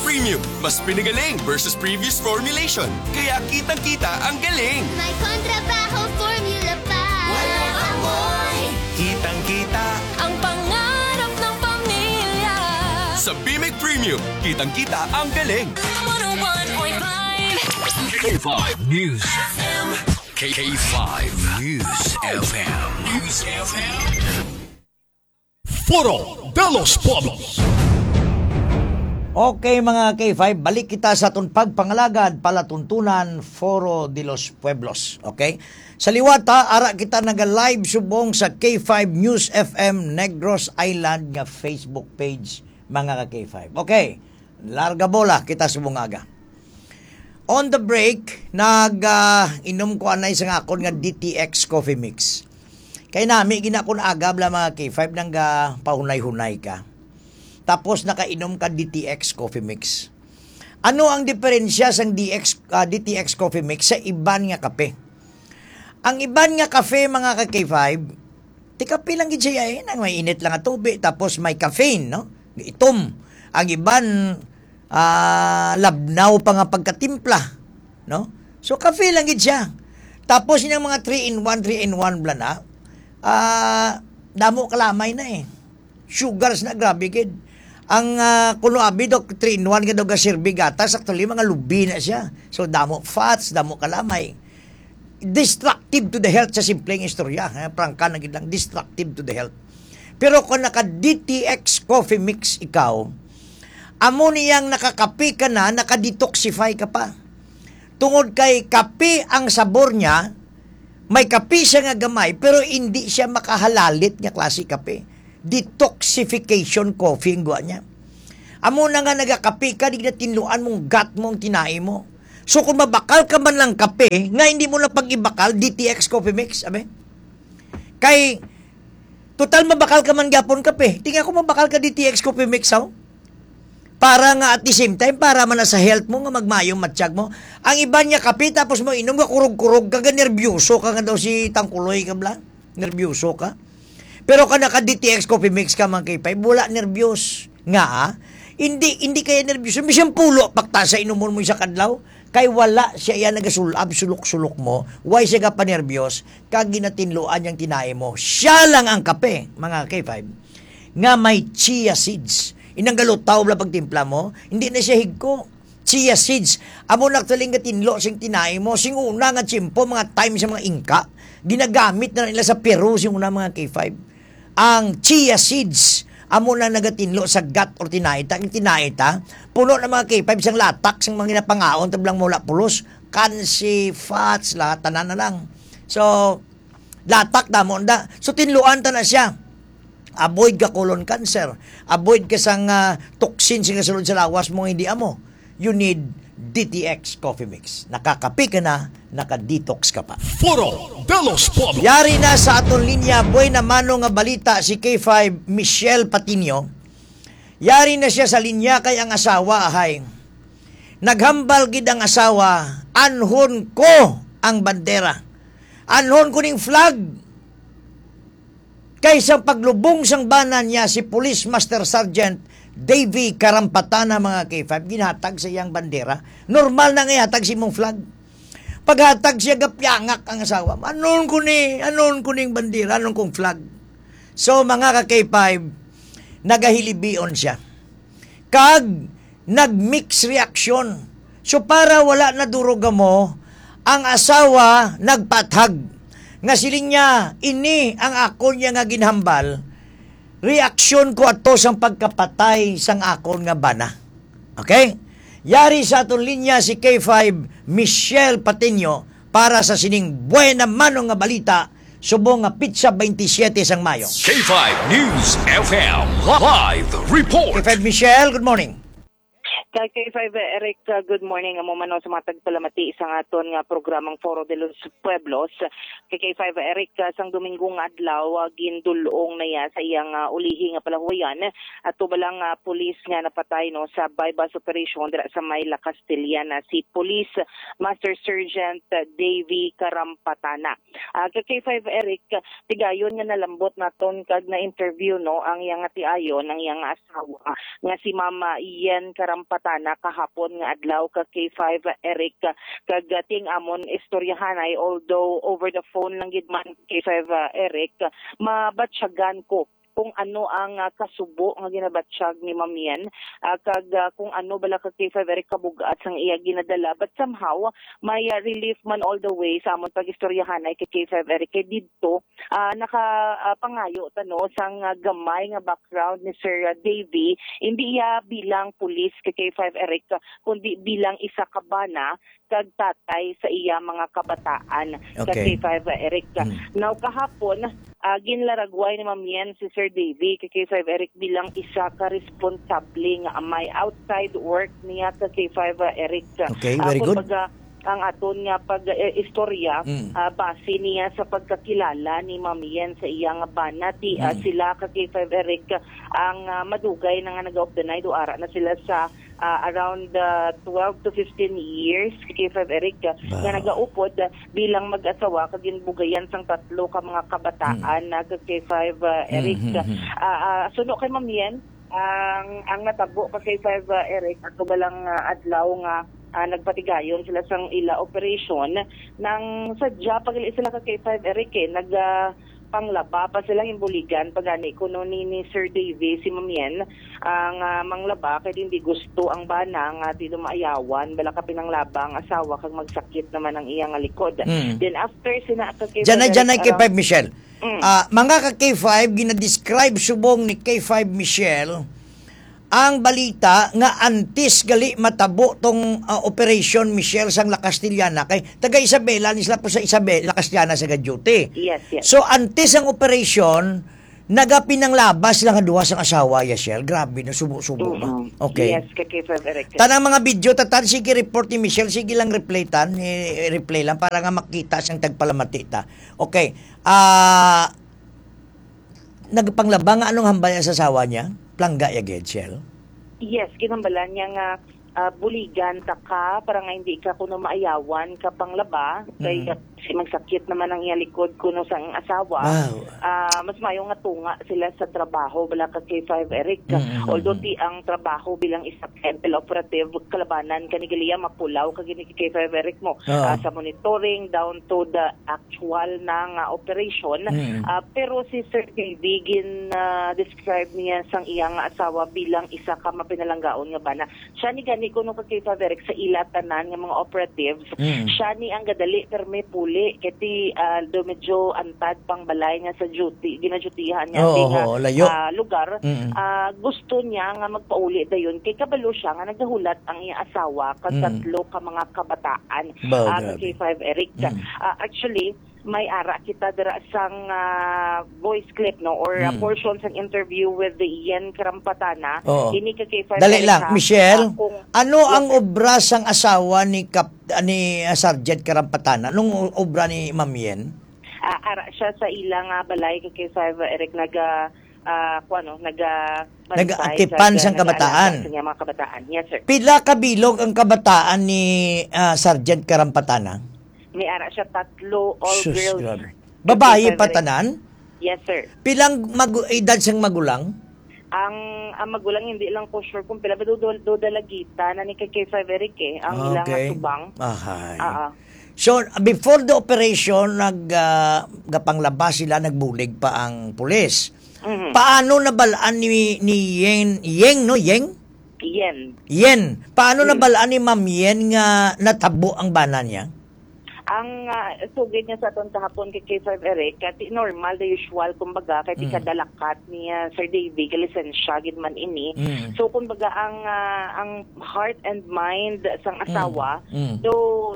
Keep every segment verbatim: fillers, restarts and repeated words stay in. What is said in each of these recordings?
Premium, mas pinagaling versus previous formulation. Kaya kitang-kita ang galing. May kontrabaho formula pa. Walang amoy. Kitang-kita. Ang pangarap ng pamilya. Sa Bimig Premium, kitang-kita ang galing. One oh one point five. K five News F M. K five News F M. News F M. Foro de los Pueblos. Okay, mga K five, balik kita sa aton pagpangalagad, palatuntunan, Foro de los Pueblos. Okay? Sa liwat, ha, ara kita naga-live subong sa K five News F M Negros Island nga Facebook page, mga ka K five. Okay, larga bola kita subong aga. On the break, nag, ah, inom ko anay sa akon nga D T X Coffee Mix. Kay nami gina kun agab la mga K five nang ga pahunay-hunay ka. Tapos nakainom ka D T X Coffee Mix. Ano ang diferensya sang D X, ah, D T X Coffee Mix sa iban nga kape? Ang iban nga kape, mga ka K five, ti kape lang gid siya, eh, nang may init lang nga tubig, tapos may caffeine, no? Itom. Ang iban, ah, labnaw pa nga pagkatimpla, no? So, kape lang gid siya. Tapos, yung mga three in one, three in one bala na, ah, damo kalamay na, eh. Sugars na, grabe gid. Ang, ah, kuno abi, Doc, three in one nga daw gaserbi gatas, actually, mga lubi na siya. So, damo fats, damo kalamay. Destructive to the health sa simpleng istorya, eh, prangka na gid lang, destructive to the health. Pero kung naka D T X Coffee Mix ikaw, amo niyang nakakape ka na, naka-detoxify ka pa. Tungod kay kape ang sabor niya, may kape siya nga gamay, pero hindi siya makahalalit nga klase kape. Detoxification coffee ang guwa niya. Amo na nga nagakape ka, di na tinluan mong gut mo ang tinai mo. So kung mabakal ka man lang kape, nga hindi mo na pag-ibakal, D T X Coffee Mix, abi? Kay, total mabakal ka man gyapon kape. Tinga ko mabakal ka D T X Coffee Mix, oh. Para nga at the same time, para man na sa health mo, nga magmayong matsyag mo. Ang iban niya kape, tapos mo inom nga kurog-kurog ka, ga nerbiyoso ka nga daw si Tangkuloy ka bla. Nerbiyoso ka. Pero ka naka D T X Coffee Mix ka, mga K five, wala nerbyos. Nga, ah, hindi, hindi kaya nerbyos. Bisan pulo, pakta sa inumon mo sa kadlaw. Kay wala siya iya nagasulab, sulok-sulok mo. Why siya ka panerbyos? Kag ginatinluan niyang tinai mo. Siya lang ang kape, mga K five, nga may chia seeds. Inang galutaw bla pagtimpla mo, hindi na siya higko. Chia seeds. Amo na actually nga tinlo sing tinai mo. Sing una nga tiyempo, mga time sa mga Inka, ginagamit na nila sa Peru sing una, mga K five. Ang chia seeds, amo na nagatinlo sa gut or tinai ta. Ang tinai ta, puno na, mga K five, sang latak, sang mga ginapangaon, tablang mula pulos, kansi, fats, lahat, tanan na lang. So, latak, damo na. So, tinluan ta na siya. Avoid ka colon cancer. Avoid ka sang, ah, toxin sing sulod sa lawas mo nga hindi amo. You need D T X Coffee Mix. Nakakape ka na, naka-detox ka pa. Foro de los Pueblos. Yari na sa aton linya, buena mano nga balita si K five Michelle Patiño. Yari na siya sa linya kay ang asawa, ahay. Naghambal gid ang asawa, "Anhon ko ang bandera. Anhon ko ning flag." Kay sa paglubong sang bana niya, si Police Master Sergeant Davy Karampatana, mga K five, ginhatag sa iyang bandera. Normal na nga ihatag sa imong flag. Paghatag siya, gapyangak ang asawa. "Anon ko ni, anon ko ning bandera, anon kong flag?" So, mga ka K five, nagahilibion siya. Kag nag-mix reaction. So, para wala na durog mo, ang asawa nagpathag. Nga siling niya, "Ini ang akon niya nga ginhambal, reaksyon ko ato sang pagkapatay sang akon nga bana." Okay? Yari sa aton linya si K five, Michelle Patiño, para sa sining buena mano nga balita, subong nga pitsa twenty-seven sang Mayo. K five News F M live report. K five Michelle, good morning. Kay K five Eric, uh, good morning. Amo man, no, sa mga tagpalamati sa aton nga programang Foro de los Pueblos. Kay K five Eric, uh, sang Domingo nga adlaw, uh, gindul-ong na iya sa iyang, uh, ulihi nga palahuwayan. Ato ba lang, uh, pulis nga napatay, no, sa buy-bust operation dira sa may La Castellana, si Police Master Sergeant, uh, Davy Karampatana. Ah, ka K five Eric, tigayon nga nalambot naton kag na-interview, no, ang iyang atiayon, ang iyang asawa nga si Mama Yen Karampat Tana kahapon nga adlaw ka K five Eric, kag, ah, ting amon istoryahanay, although over the phone lang gid man K five, ah, Eric, mabatyagan ko kung ano ang, ah, kasubo nga ginabatyag ni Ma'am Yen, ah, kag, ah, kung ano bala ka K five Eric kabug-at sang iya ginadala. But somehow, may, ah, relief man all the way sa amon pag-istoryahanay kay K five Eric kay didto, ah, naka, ah, pangayo ta, no, sang, ah, gamay nga background ni Sir, ah, Davy, hindi iya bilang pulis kay K five Eric, kundi bilang isa ka bana kag tatay sa iya mga kabataan, ka Okay. K five Eric. Mm. Now, kahapon, ah, ginlaragway ni Ma'am Yen si Sir Davy kay K five Eric bilang isa ka responsable nga amay outside work niya ka K five Eric. Okay, Ah, very good. kumbaga, ang aton nga pag-istorya, Mm. ah, base niya sa pagkakilala ni Ma'am Yen sa iya nga bana, ti, ah, Mm. sila ka K five Eric ang, ah, madugay na nga nag-off the night o ara na sila sa, ah, around, ah, twelve to fifteen years, ka K five Eric, ah, nga Wow. nagaupod, ah, bilang mag-asawa kag ginbugayan sang tatlo ka mga kabataan Mm. na ka K five, ah, Eric. Mm, mm, mm. Ah, ah, suno kay Ma'am Yen, ang, ang natabo ka K five, ah, Eric, ato ba lang, ah, adlaw nga, ah, nagpatigayon sila sang ila operation, nang sadya pa gali sila ka K five, Eric, eh, nag, ah, panglaba pa sila, ginbuligan pa gani kuno ni, ni Sir Davy si Ma'am Yen, ang, ah, manglaba kay hindi gusto ang bana nga ti dumaayawan bala ka pinanglaba ang asawa kag magsakit naman ang iya nga likod. Mm. Then after sina ka K five, Janay, Eric, janay, around K five Michelle. Mm. Ah, mga ka K five, ginadescribe subong ni K five Michelle ang balita nga antes gali matabo tong, ah, Operation Michelle sang La Castellana, kay taga Isabela ni sila po sa Isabela, La Castellana sa duty. Yes, yes. So, antes ang operation, nagapinanglaba sila nga duha sang asawa, Yashel. Grabe, no? Subo-subo ba? Mm-mm. Okay. Yes, ka K five Eric. Tanang mga video, tatan, sige report ni Michelle, sige lang replay tan, i-replay lang para nga makita sang tagpalamati ta. Okay. Ah, nagpanglaba nga anong hambal sa asawa niya? Plangga ya gid, Shell? Yes, ginhambalan niya nga, ah, buligan ta ka para nga hindi ka kuno maayawan ka panglaba. Kay Mm. si magsakit naman ang iya likod kuno sa ang asawa. Wow. Ah, mas mayo nga tunga sila sa trabaho, bala ka K five Eric. Mm, mm, Although mm. ti ang trabaho bilang isa ka Intel operative, kalabanan ka ni Galia, mapulaw ka gini kay K five Eric mo. Oo. Ah, sa monitoring down to the actual na nga operation. Mm. Ah, pero si Sir Davy, gin, ah, describe niya sang iya nga asawa bilang isa ka mapinalanggaon nga bana. Siya ni gani kuno ka K five Eric sa ila tanan nga mga operatives. Mm. Siya ni ang gadali permi puli kay ti, ah, do medyo antad pang balay nga sa duty, ginadutyhan niya Oo, ti nga, oo, layo. ah, lugar. Mm. Ah, gusto niya nga magpauli dayon kay kabalo siya nga nagahulat ang iya asawa kag Mm. tatlo ka mga kabataan. Ba, Ah, sa grabe. K five Eric. Mm. Ah, actually, may ara kita dira sang, ah, voice clip, no, or, ah, Mm. portion sang interview with the Ian Karampatana. Oo. Ini ka K five Dali Eric, lang, ha? Michelle, Ah, kung ano Yes, ang sir. obra sang asawa ni Kap-, ni, ah, Sergeant Karampatana? Anong obra ni Ma'am Yen? Ah, ara siya sa ila nga balay ka K five Eric, naga, ah, kuwan, no, naga Nag-atipan sang kabataan. Sa mga kabataan. Yes, sir. Pila ka bilog ang kabataan ni, ah, Sergeant Karampatana? May ara siya tatlo, all Sus, girls. grabe. Babayi Yes, sir. pa tanan? Yes, sir. Pilang magu-, edad sang magulang? Ang, ang magulang, hindi lang ko sure kung pila. Pero do, do, do dalagita na ni kay K five Eric eh, ang ilang Okay. atubang. Ahay. Oo. So, before the operation, nag, ah, gapanglaba sila, nagbulig pa ang pulis. Mhm. Paano nabalaan ni, ni Yeng, Yeng, no? Yeng? Yen. Yen. Paano Mm. nabalaan ni Ma'am Yen nga natabo ang bana niya? Ang, ah, sugid niya sa aton kahapon kay K five Eric, kati normal, the usual, kumbaga, kay Mm. kada lakat ni, ah, Sir Davy, kalisensya gid man ini. Mm. So, kumbaga, ang, ah, ang heart and mind sang Mm. asawa, Mm. do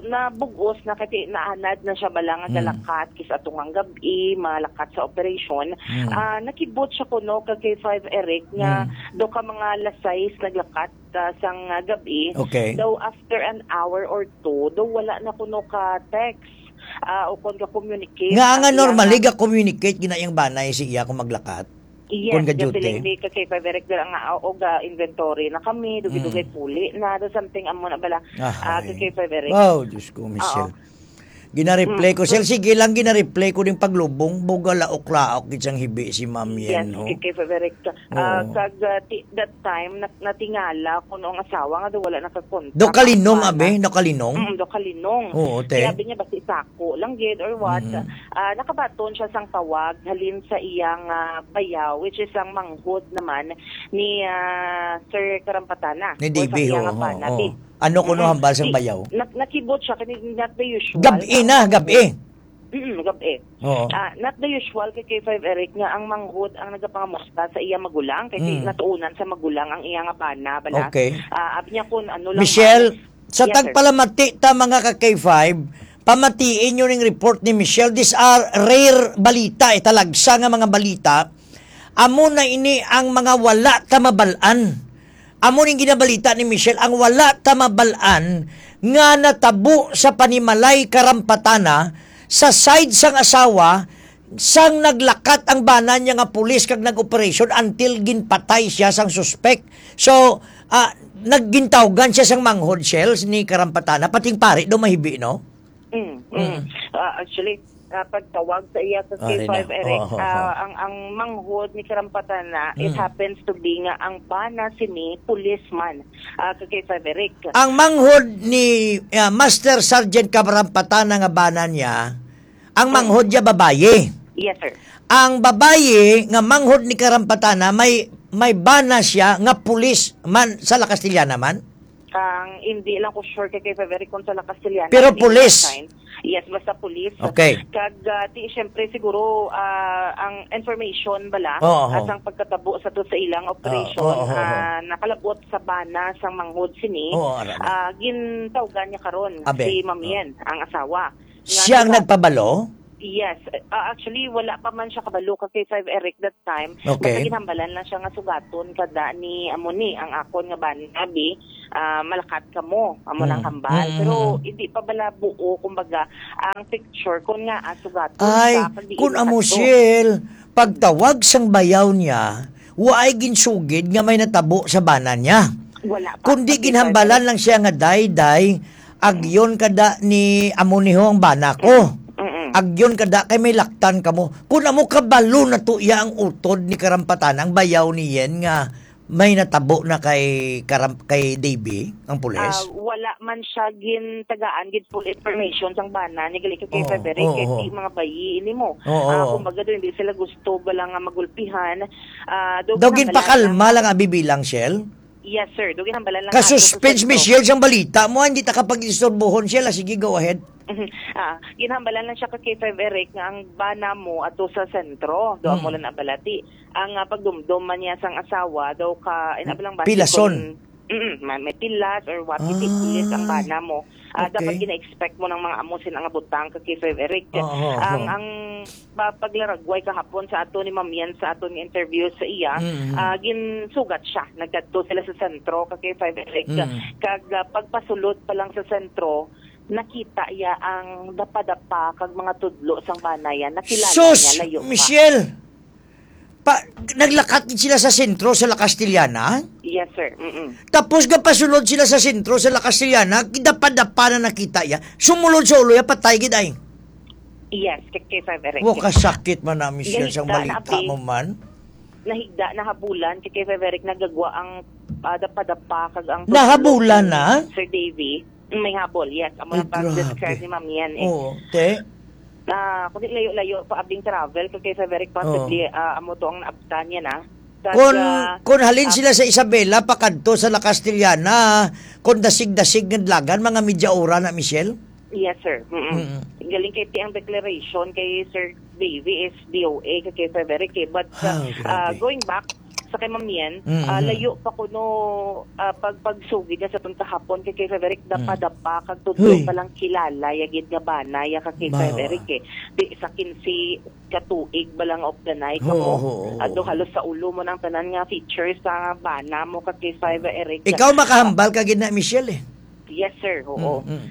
nabug-os na, kati naanad na siya bala nga Mm. galakat, kis atong ang gab-i, malakat sa operasyon. Mm. Ah, nakibot siya kuno kag K five Eric nga Mm. do ka mga alas sais naglakat, ah, sang, ah, gab-i. Okay. Daw after an hour or two, daw wala na kuno ka text, ah, o kon ka communicate Nga ang nga iya normally nga ga-communicate gina iyang banay si iya kung maglakat? Yes, Kung ga-duty? gapiling ni ka K five Eric dira nga, ah, og, ah, inventory na kami, dugay-dugay Mm. puli na, do something amo na bala, ah, Ahay. ka K five Eric. Wow, Diyos ko, Michelle. Oo. Gina-replay ko, Shell. Sige lang, gina-replay ko ning paglubong. Buga laok-laok gid sang hibi si Ma'am Yen, ho. Yes, kay, kay Frederick. Ah, Oo. kag, ah, ti-, that time, nat-, natingala ko no ang asawa nga daw wala nakakontak Do ang kalinong, bana. Abi? Do kalinong? Mm, do kalinong. Oo, te. Kaya abi niya, basi sako lang gid or what. Mm. Ah, nakabaton siya sang tawag halin sa iyang, ah, bayaw, which is ang manghod naman ni, ah, Sir Karampatana. Ni O sa D B, iyang oo, bana, oo. Ti. Ano kuno Mm. hambal sang Ti-, bayaw? nak-, nakibot siya, kani not the usual. Gabi na, gabi. Mm, gabi. Oo. Ah, not the usual kay K five Eric nga ang manghod ang nagapangamusta sa iya magulang, kay Mm. natuunan sa magulang ang iya nga bana, bala. Okay. Ah, abi niya kun ano lang Michelle, man. Sa Yes, sir. tagpalamati ta, mga ka K five, pamatiin nyo ning report ni Michelle. These are rare balita, eh, talagsa nga mga balita. Amo na ini ang mga wala ta mabal-an. Amo ning ginabalita ni Michelle, ang wala ta mabal-an nga natabo sa panimalay Karampatana sa side sang asawa, sang naglakat ang bana niya nga pulis kag nag-operasyon until ginpatay siya sang suspek. So, ah, naggintawgan siya sang manghod, Shell, ni Karampatana, pating pari daw mahibi, no? Mm, mm. Mm. Ah, actually, ah, pagtawag sa iya sa Ari na. C five Eric, Oo, oo, ah, oo. ang, ang manghod ni Karampatana, it Mm. happens to be nga ang bana sini policeman, ah, sa C five Eric. Ang manghod ni, ah, Master Sergeant Karampatana nga bana niya, ang Mm. manghod niya babayi. Yes, sir. Ang babayi nga manghod ni Karampatana, may, may bana siya nga pulis man sa La Castellana man? Ang hindi lang ko sure kay, kay Frederick kung sa La Castellana Pero hindi pulis. na-assign. Yes, basta pulis. Okay. Kag, ah, ti, syempre, siguro, ah, ang information bala, Oo, oo. asang pagkatabo sa to sa ilang operation, Oo, oo, oo. ah, nakalabot sa bana sang manghod sini, Oo, ara na. ah, gintawgan niya karon Abe. si Ma'am Oo. Yen, ang asawa. Nga Siya ang suga- nagpabalo? Yes. Ah, actually, wala pa man siya kabalo ka kay five Eric that time. Okay. Basta ginhambalan lang siya nga sugaton kada ni amo ni ang akon nga bana, abi, ah, malakat kamo, amo nang Mm. hambal. Mm, Pero mm. hindi pa bala buo, kumbaga, ang picture kung nga, ah, sugaton Ay, ka, kag diin kung amo, kadto. Shell, pagtawag sang bayaw niya, waay ginsugid nga may natabo sa bana niya. Wala pa. Kundi Pag ginhambalan ikaw lang siya nga, "Day, day, agyon kada ni amo ni ho ang bana ko. Mm-mm. Agyon kada kay may laktan kamo." Kun amo kabalo na to iya ang utod ni Karampatana, ang bayaw ni Yen nga may natabo na kay Karam-, kay Davy, ang pulis? Ah, wala man siya gintagaan gid full information sang bana ni gali kay Oo, Frederick, oo, kay oo. di mga bayi ini mo. Oo, Ah, oo. kumbaga do, hindi sila gusto bala nga magulpihan. Ah, do Daw ginhambalan ginpakalma lang. lang abi bilang, Shell? Yes, sir. Do ginhambalan lang Ka-suspense, ato sa Michelle, sang balita mo, hindi ta kapag-istorbohon, Shell. Ah, sige, go ahead. Mhm. Ah, ginhambalan lang siya ka K five Eric nga ang bana mo ato sa sentro. Do Mm. mo lang nabalati. Ang, ah, pagdumdom man niya sang asawa, daw ka, ay, nabalang basi Pilason. kung, mm, ma-, may pilas or what, hindi Ay. pulis ang bana mo. Ah, Okay. dapat gina-expect mo ng mga amo sin nga butang ka K five Eric. Oo, oo, Ang, oo. ang pa-, paglaragway kahapon sa ato ni Ma'am Yan sa aton nga interview sa iya, Mm, mm. ah, ginsugat siya. Nagkadto sila sa sentro ka K five Eric. Mm. Kag, ah, pagpasulod pa lang sa sentro, nakita iya ang dapa-dapa kag mga tudlo sang bana yan. Nakilala Sus, niya, layo pa. Michelle! Pa, naglakat gid sila sa sentro sa La Castellana? Yes, sir. Mm-mm. Tapos gapasulod sila sa sentro sa La Castellana, dapa-dapa na nakita iya. Sumulod sa ulo iya, patay gid ay. Yes, kay, kay Frederick. Wa, kasakit man na, Michelle, sang Nahigda na, balita abi. mo man. Nahigda, nahabulan, kay, kay Frederick, nagagwa ang, ah, dapa-dapa, kag ang Nahabulan tudlo na? ni Sir Davy. Mm, may habol, yes. Amo Ay, lang pag-describe grabe. ni Ma'am Yan, eh. Oo, te. Ah, kundi layo-layo pa abing travel, kay, kay Frederick, possibly, Oo. ah, amo to ang naabtan niya na. Kag, Kun, ah, kun halin ah, sila sa Isabela, pakadto sa La Castellana, kun dasig-dasig nga dalagan, mga media ora na, Michelle? Yes, sir. Mm-mm. Mm-mm. Galing kay ti ang declaration kay Sir Davy is D O A, kay, kay Frederick, eh. But, Ah, ah, grabe. going back sa kay Ma'am Yen, Mm-mm. ah, layo pa kuno, ah, pag-, pagsugid niya sa tong kahapon kay, kay Frederick, Mm. dapa-dapa, kag tudlo Hoy. pa lang kilala, ya gid nga bana, ya ka kay Bawa. Frederick, eh. Di sa kinse ka tuig ba lang of the night Oo, ako. oo, oo. Ado halos sa ulo mo nang tanan nga features sa bana mo ka kay Frederick. Ikaw makahambal ka gid na, Michelle, eh. Yes, sir. Oo. Mm, mm.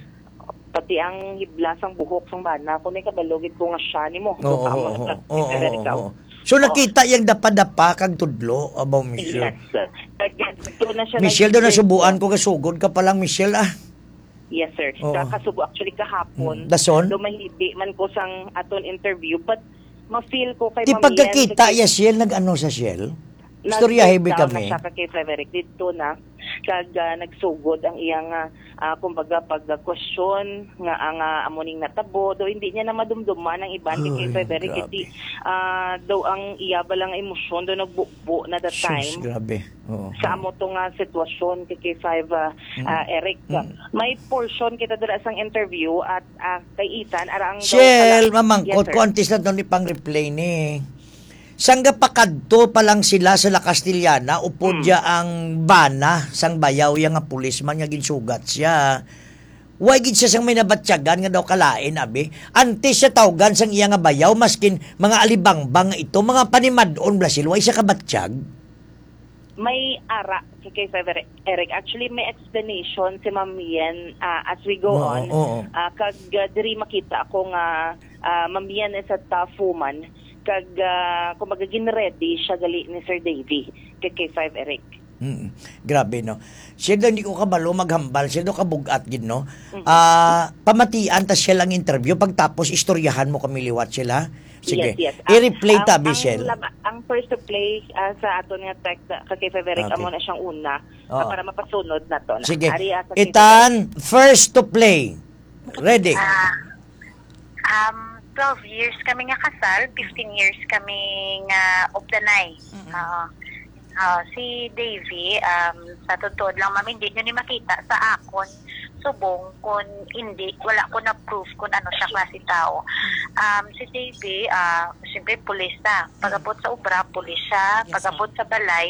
Pati ang hibla sang buhok sang bana, kung may kabalo gid ko nga siya nimo. Oo, So, tama oo, ka, oo, Mister oo, Eric, oo. So, Oo. nakita yang dapa-dapa kag tudlo, abaw, Michelle. Yes, sir. Nag-, nagtuo na siya, Michelle, daw nag-, nasubuan ko, gasugod ka pa lang, Michelle, ah. Yes, sir. Oo. Ka-, kasubo, actually, kahapon, Mm. Dason? Daw mahibi man ko sang aton interview, but ma-feel ko kay Ti Ma'am Yen, pagkakita kay iya, Shell, nag-ano sa Shell? Istoryahe bi Nag-breakdown na kami. Siya ka kay Frederick didto na, kag, ah, nagsugod ang iyang, ah, ah, kumbaga, pag-question nga ang, ah, amo ning natabo, do hindi niya na madumduman ang iban kay, kay Ay, Frederick, grabe. Hindi, ah, daw ang iya ba lang emosyon, daw nagbubo na that Sus, time. Grabe. Oo. Sa amo to nga sitwasyon, kay, kay five, ah, Mm. ah, Eric. Mm. May portion kita dira sang interview at, ah, kay Ethan, ara ang daw Shell, pala-, mamangkot Yes, sir. Ko, antes na to ni pang-replay ni. Sangga pa kadto pa lang sila sa La Castellana, upod Mm. ya ang bana sang bayaw ya nga pulisman nga ginsugat siya. Wa gid siya sang may nabatyagan nga daw kalain, abi. Antes siya tawgan sang iya nga bayaw, maskin mga alibangbang nga ito, mga panimad-on, Blasil, wa siya kabatyag. May ara si kay Sir Eric. Actually, may explanation si Ma'am Yen, ah, as we go Oo, on. Oo. Ah, kag, ah, diri makita ako nga, ah, Ma'am Yen is a tough woman. Kag, ah, kumbaga, gin-ready siya gali ni Sir Davy kay, kay Five Eric. Mm, grabe, no? Siya daw, hindi ko kabalo maghambal. Siya daw, kabug-at gid, no? Mhm. Ah, pamatian ta siya lang interview. Pagtapos, istoryahan mo kami liwat sila. Sige. Yes, yes. I-replay Ang, ta, ang Michelle. laba-, ang first to play, ah, sa aton nga text, ah, kay Frederick, Okay. amo na siyang una, ah, Oo. para mapasunod nato na. Sige. Ari, ah, sa Ethan, first to play. Ready? Ah, um, twelve years kami nga kasal, fifteen years kami nga updanay. Mm-mm. Oo. Ah, si Davy, um, sa totoo lang, ma'am, hindi nyo ni makita sa akon subong kun hindi, wala ko na proof kung ano siya klase tao. Um, si Davy, ah, siyempre, pulis siya. Pag-abot sa obra, pulis siya. Yes, Pag-abot ma'am. sa balay,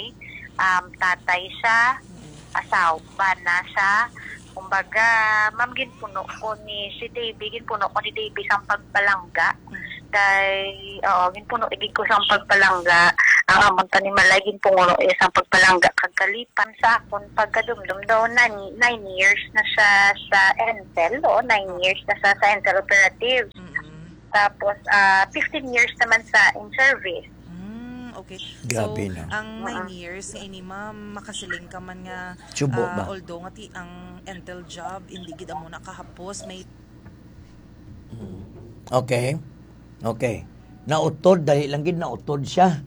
um, tatay siya, Mm. asaw-, bana siya. Kumbaga, ma'am, ginpuno ko ni si Davy, ginpuno ko ni Davy sang pagpalangga. Mm. Kay, oo, ginpuno igid ko sang pagpalangga. Ang amon panimalay, ginpuno iya sang pagpalangga. Kag kalipan sa akon pagkadumdom daw, nine, nine years na siya sa Entel, o, nine years na siya sa Entel Operatives. Mm-mm. Tapos, ah, fifteen years naman sa in-service. Mm, okay. Grabe, So, no? ang nine Ah. years nga ini, ma'am, makasiling ka man nga, Subo ah, ba? although nga ti-, ang Entel job, hindi gid amo nakahapos, may Mm. Okay. Okay. Nautod, dali lang gid, nautod siya.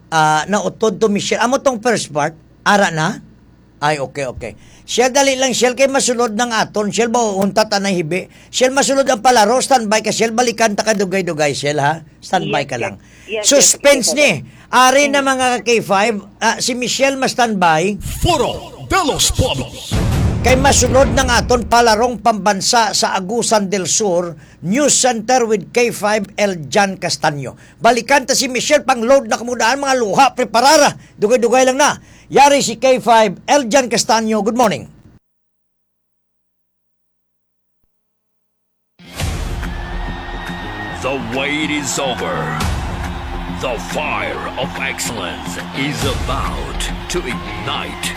Ah, nautod to, Michelle. Amo tong first part, ara na? Ay, okay, okay. Shell, dali lang, Shell, kay masulod nang aton. Shell, ba, unta ta na hibi. Shell, masulod ang palaro. Standby ka, Shell. Balikan ta ka dugay-dugay, Shell, ha? Standby Yes, ka yes. lang. Yes, yes. Suspense Yes, ni. Ari na, Mm. mga ka-K five. Ah, si Michelle, ma-standby. Foro de los Pueblos. Kay masulod nang aton palarong pambansa sa Agusan del Sur News Center with K five Eljan Castaño. Balikan ta si Michelle, pang-load na kamo daan, mga luha, preparara. Dugay-dugay lang na. Yari si K five, Eljan Castaño. Good morning. The wait is over. The fire of excellence is about to ignite.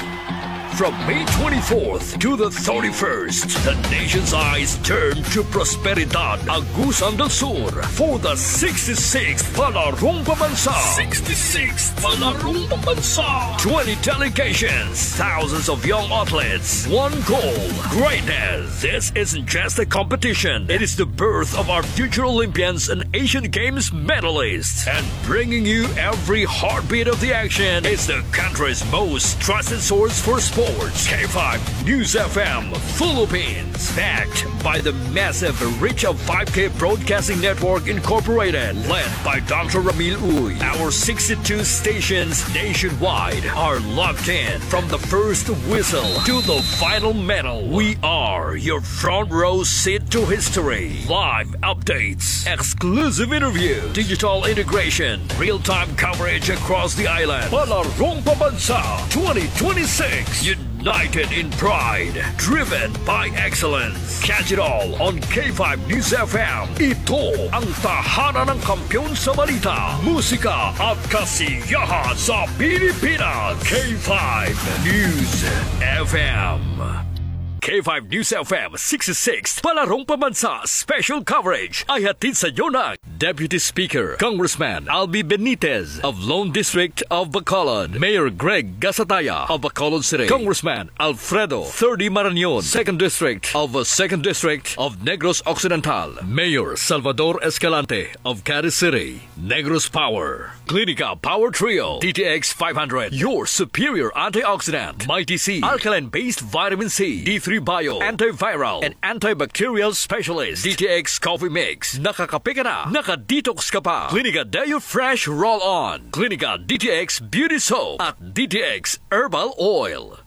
From May twenty-fourth to the thirty-first, the nation's eyes turn to Prosperidad, Agusan del Sur, for the sixty-sixth Palarong Pambansa. Sixty-sixth Palarong Pambansa. Twenty delegations, thousands of young athletes, one goal, greatness. This isn't just a competition. It is the birth of our future Olympians and Asian Games medalists. And bringing you every heartbeat of the action is the country's most trusted source for sports, K five News F M Philippines. Backed by the massive reach of five K Broadcasting Network Incorporated, led by Doctor Ramil Uy. Our sixty-two stations nationwide are locked in. From the first whistle to the final medal, we are your front row seat to history. Live updates, exclusive interview, digital integration, real-time coverage across the island. Palarong Pambansa twenty twenty-six. United in pride, driven by excellence. Catch it all on K five News F M. Ito ang tahanan ng kampiyon sa balita, musika at kasiyahan sa Pilipinas. K five News F M. K five News F M sixty-six, Palarong Pambansa Special Coverage ay hatid sa inyo ng Deputy Speaker, Congressman Albi Benitez of Lone District of Bacolod, Mayor Greg Gasataya of Bacolod City, Congressman Alfredo Thirdy Marañon, Second District of uh, Second District of Negros Occidental, Mayor Salvador Escalante of Caris City. Negros Power, Clinica Power Trio, D T X five hundred, your superior antioxidant, Mighty C, alkaline-based vitamin C, D three Bio, antiviral, and antibacterial specialist, D T X Coffee Mix. Nakakape ka na, naka-detox ka pa. Clinica Deo Fresh Roll-On, Clinica D T X Beauty Soap, at D T X Herbal Oil.